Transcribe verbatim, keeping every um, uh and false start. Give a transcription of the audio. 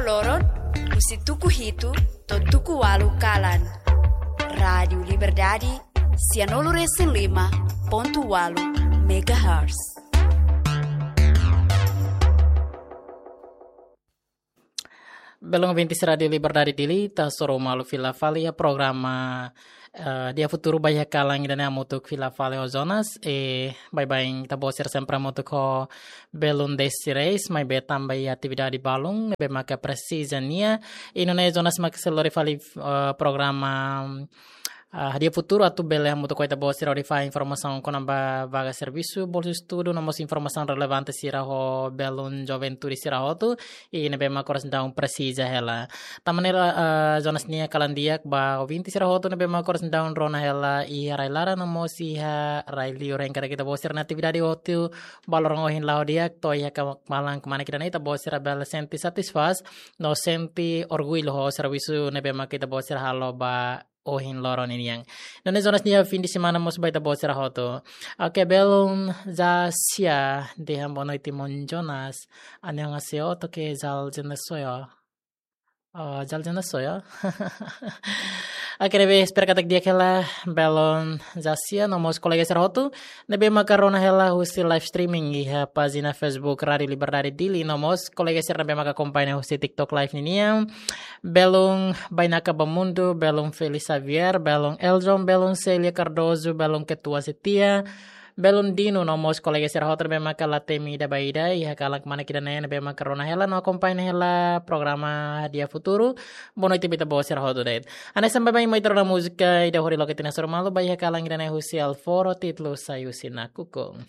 loron, husi tuku hitu to'o tuku ualu kalan. Rádiu Liberdade, sianulu resin lima pontu ualu megahertz. Belun ouvintes Rádiu Liberdade Dili, ita hasoru malu fila fali iha programa, eh, Dia Futuru ba iha kalan ida-ne'e hamutuk fila fali ho Jonas, eh, baibain ita-boot sira sempre hamutuk ho belun Desi Reis, maibé tanba iha atividade balun, ne'ebé maka presiza nia, i nune'e Jonas maka sei lori fali, eh, programa, ah, Dia Futuru atu bele hamutuk ho ita-boot sira hodi fahe informasaun kona-ba vaga servisu, bolsa estudu, no mós informasaun relevante sira ho belun juventude sira hotu, i ne'ebé maka oras daudaun presiza hela. Tanba ne'e, ah, Jonas nia kalan di'ak ba ouvinte sira hotu ne'ebé maka oras daudaun rona hela iha rai-laran no mós iha rai-liur, hein, katak ita-boot sira-nia atividade hotu ba loron ohin la'o di'ak, to'o iha ka-, malan kmanek ida-ne'e ita-boot sira bele sente satisfás, no sente orgullu ho servisu ne'ebé maka ita-boot sira halo ba ohin loron ninian. Nune'e Jonas nia fim de semana mós ba ita-boot sira hotu. Oke, belun Jasia, dehan boa noite maun Jonas. 안녕하세요. 어떻게 잘 지내세요? Oh, 잘 지내세요. Oke, ne'ebé espera katak di'ak hela belun Jasia no mós kolega sira hotu ne'ebé maka rona hela husi live streaming iha pájina Facebook Rádiu Liberdade Dili, no mós kolega sira ne'ebé maka akompaña husi TikTok live ninian. Belun Bainaka Bamundu, belun Félix Xavier, belun Eljon, belun Célia Cardoso, belun Ketua Setia, belun Dino, no mós kolega sira hotu ne'ebé maka la temi ida ba ida iha kalan kmanek ida-ne'e, ne'ebé maka rona hela no akompaña hela programa Dia Futuru. Boa noite ba ita-boot sira hotu de'it. Hanesan baibain mai ita rona múzika ida hodi loke tiha ona hasoru malu ba iha kalan ida-ne'e husi Alforo, títulu Sai Husi Nakukun.